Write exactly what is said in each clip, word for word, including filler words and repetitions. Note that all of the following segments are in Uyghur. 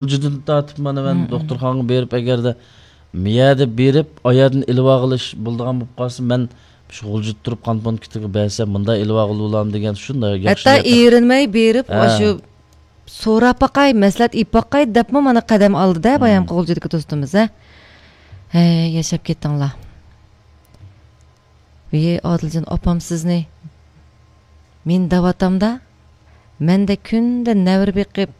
غۇلجىدىن تارتىپ مانا مەن دوختۇرخانىغا بېرىپ، ئەگەردە مىيەدە بېرىپ، ئايەردىن ئېلىۋالغىلى بولىدىغان بولۇپ قالسا، مەن شۇ غۇلجىدا تۇرۇپ قان پونكىتىغا بەرسەم، مۇنداق ئېلىۋالغىلى بولامدۇ دېگەن شۇنداق ياخشى ھەتتا نىيەت. ئېرىنمەي بېرىپ، ھە. ئاشۇ سوراپ باقاي، مەسلىھەت ئېلىپ باقاي دەپمۇ مانا قەدەم ئالدى-دە، بايامقى غۇلجىدىكى دوستىمىز، ھە. ھەي، ياشاپ كەتتىڭلار. ۋىي ئادىلجان ئاپام سىزنى مېنى دەۋاتامدا، مەندە كۈندە نەۋرە بېقىپ،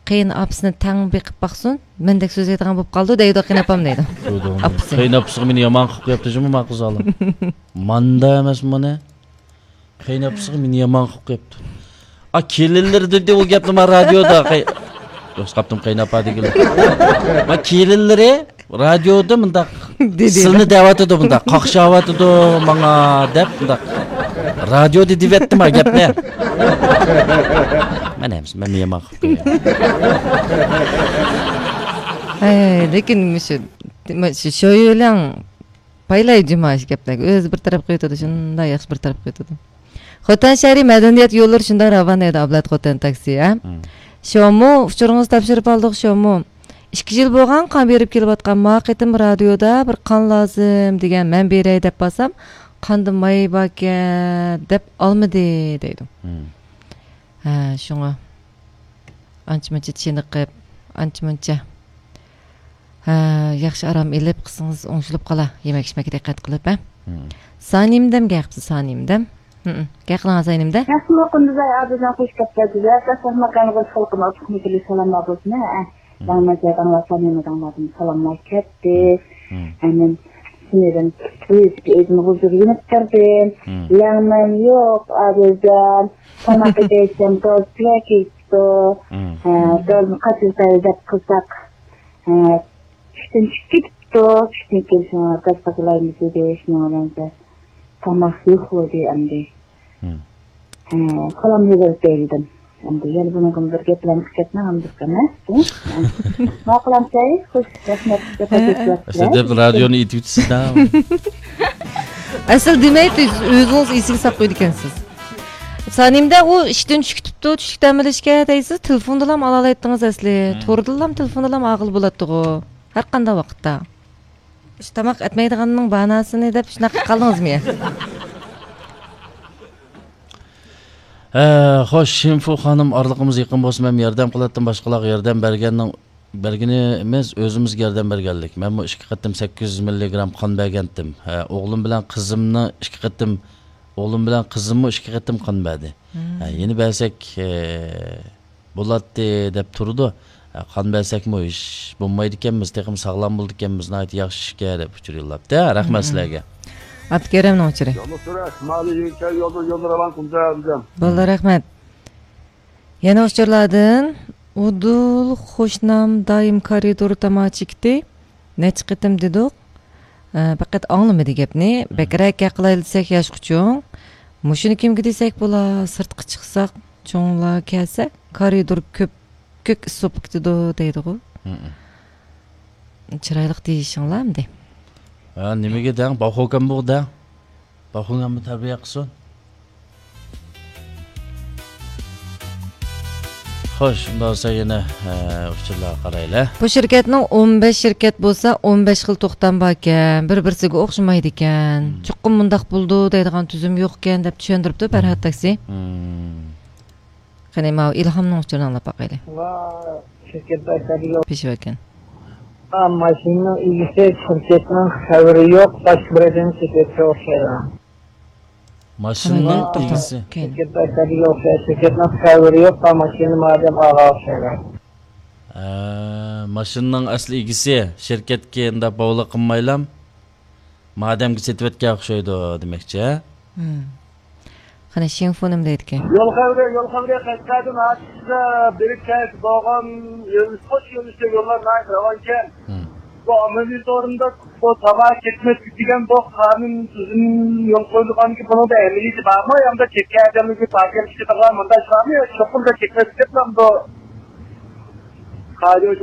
قېيىن ئاپىسىنى تەڭ بېقىپ باقسۇن، مەندەك سۆزلەيدىغان بولۇپ قالدى دەيدۇ قېيىن ئاپام دەيدۇ. شۇ دېگەن. ئاپىسى. قېيىن ئاپىسىغا مېنى يامان قىلىپ قويۇپتۇ جۇمۇ ما قىز ئالىم. ماندا ئەمەس مانا. قېيىن ئاپىسىغا مېنى يامان قىلىپ قويۇپتۇ. ئا، كېلىنلىرى دېدى ئۇ گەپنى ما رادىيودا. قەي-، يوق، قاپتىم قېيىن ئاپا دېگىلى. ما كېلىنلىرى رادىيودا مۇنداق دېدى. سىلنى دەۋاتىدۇ، مۇنداق قاقشاۋاتىدۇ ماڭا دەپ مۇنداق. رادىيودا دېۋەتتىم ھە گەپنى. مەن ئەمىسە، مەن يامان قىلىپ قوياي. ھەي، لېكىن مۇشۇ، مۇشۇ شويۈلەڭ پايلاي جۇما ئىش گەپلەرگە. ئۆزى بىر تەرەپ قىلىۋېتىدۇ، شۇنداق ياخشى بىر تەرەپ قىلىۋېتىدۇ. خوتەن شەھىرى مەدەنىيەت يوللىرى شۇنداق راۋان دەيدۇ ئابلەت خوتەن تاكسى، ھە؟ شومۇ، ئۇچۇرىڭىزنى تاپشۇرۇپ ئالدۇق، شومۇ. ئىككى يىل بولغان قان بېرىپ كېلىۋاتقان، ما قېتىم رادىيودا بىر قان لازىم دېگەن، مەن بېرەي دەپ بارسام، قاندا ماي باركەن دەپ ئالمىدى دەيدۇ. ھە، شۇڭا ئانچە-مۇنچە چېنىقىپ، ئانچە-مۇنچە، ھە، ياخشى ئارام ئېلىپ، قىزىڭىز ئوڭشىلىپ قالا، يېمەك-ئىچمەككە دىققەت قىلىپ، ھە. سانىمدەم گەپ قىپسىز، سانىمدەم. ھە، گەپ قىلىڭ سانىمدە. ياخشىمۇ قۇندۇزاي ئابىدىن خوش گەپلەر گۈزەل، قەسەھمەكلەرنى بولسا خەلقىمىز ئۇقمىدىلى سالاملار بولسۇن، ھە. داڭلار داڭلار سانىمداڭلاردىن سالاملار كەتتى. ھەممە سىنىدىن ئۆزىگە ئۆزىنى ھۇزۇر يېنىپ تۇردىم. لەڭمەن يوق، ئابىدىن. تاماق ئېتەيسەن، گاز پىلە كېتىپتۇ. ھە، گازنى قاچىلىتايلى دەپ قىلساق، ھە، ئىشتىن چۈشۈپ كېتىپتۇ. ئىشتىن كېلىشىڭە گاز قاچىلايمىز دېدى، شۇنىڭ بىلەن تاماق يوق بولدى ئەمدى. ھە، سالام يوللىدىم. ئەمدى يەنە بۇنىڭغىمۇ بىر گەپلەرنى قىلىپ كەتمەڭ، ئەمدى ئەمەس. ماقۇل ئەمسەي، خوش، رەھمەت. ئەسلىدە رادىيونى ئېيتىۋېتىسىز-دە. ئەسلى دېمەي، ئۆزىڭىز ئېسىگە ساپ قويىدىكەنسىز. سانىمدە ئۇ ئىشتىن چۈشۈپ كېتىپتۇ، چۈشلۈك دەم ئېلىشكە دەيسىز، تېلېفوندىلام ئالالايتتىڭىز ئەسلى. تورىدىنلام، تېلېفوندىنلام ئالغىلى بولاتتىغۇ. ھەر قانداق ۋاقىتتا. شۇ تاماق ئەتمەيدىغاننىڭ باناسىنى دەپ شۇنداق قىلىپ قالدىڭىزمۇ يا؟ ھە، خوش، شىنفۇ خانىم، ئارىلىقىمىز يېقىن بولسا، مەن ياردەم قىلاتتىم، باشقىلارغا ياردەم بەرگەننىڭ، بەرگىنى ئەمەس، ئۆزىمىزگە ياردەم بەرگەنلىك. مەنمۇ ئىككى قېتىم سەككىز يۈز مىللىگرام قان بەرگەنتىم. ھە، ئوغلۇم بىلەن قىزىمنى ئىككى قېتىم، ئوغلۇم بىلەن قىزىممۇ ئىككى قېتىم قان بەردى. ھە، يەنە بەرسەك، ھە، بولاتتى دەپ تۇرىدۇ. ھە، قان بەرسەكمۇ ھېچ بولمايدىكەنمىز، تېخىمۇ ساغلام بولىدىكەنمىز، ناھايىتى ياخشى ئىشكەن دەپ ئۇچۇر يوللاپتۇ. ھە، رەھمەت سىلەرگە. ئابدۇكېرىمنىڭ ئۇچۇرى. يولنى سۈرۈش، مالى يۈرۈشەر يولدا، يولنى راۋان قىلمىسا دېدىم. بولدى، رەھمەت. يەنە ئۇچۇرلاردىن، ئۇدۇل خوشنام دائىم كارىدور تاماكا چېكىتى. نەچچە قېتىم دېدۇق. ئە، پەقەت ئاڭلىمىدى گەپنى. بەكرەك گەپ قىلايلى دېسەك ياشقا چوڭ. مۇشۇنى كىمگە دېسەك بولا؟ سىرتقا چىقساق، چوڭلار كەلسە، كارىدور كۆپ، كۆك ئىس بولۇپ كېتىدۇ دەيدىغۇ. چىرايلىق دېيىشىڭلار ئەمدى. ھە، نېمىگە دەڭ؟ باخۇكەن بۇ دەڭ. باخۇڭ ھەممە تەربىيە قىلسۇن. خوش، ئۇنداق بولسا يەنە، ئە، ئۇچۇرلارغا قارايلى. بۇ شىركەتنىڭ ئون بەش شىركەت بولسا، ئون بەش خىل توختام باركەن. بىر-بىرسىگە ئوخشىمايدىكەن. چوقۇم مۇنداق بولىدۇ دەيدىغان تۈزۈم يوقكەن، دەپ چۈشەندۈرۈپتۇ پەرھات تاكسى. قېنى، ماۋۇ ئىلھامنىڭ ئۇچۇرىنى ئاڭلاپ باقايلى. پېشىۋەكەن. ماشىنىنىڭ ئىگىسى شىركەتنىڭ خەۋىرى يوق، باشقا بىرەيدىن شىركەتكە ئوخشايدۇ. ماشىنىنىڭ ئىگىسى. شىركەتنىڭ خەۋىرى يوق، ماشىنا مادەم ئاغا ئوخشايدۇ. ھە، ماشىنىنىڭ ئەسلى ئىگىسى شىركەتكە ئۇنداق باغلىق قىلمايلا، مادەمگە سېتىۋەتكەن ئوخشايدۇ دېمەكچى، ھە؟ قېنى، شىڭفۇ نېمە دەيدىكەن؟ يول خەۋىرى، يول خەۋىرى قەشقەردىن ئاچىقىزدا بېرىپ كەلسە بولغان يۆنىلىش، قوش يۆنىلىشتە يوللار ناھايىتى راۋانكەن. بۇ ئاممىۋى سورۇندا بۇ تاماكا چەكمەسلىك دېگەن بۇ قانۇن تۈزۈم يول قويۇلغانكى، بۇنىڭدا ئەمەلىيىتى بارمۇ؟ ياندا چەككەن ئادەملەرگە پاكەت چىقىدىغان مۇنداق ئىش بارمۇ؟ يا چوقۇم چەكمەسلىك دەپ ماڭىدۇ.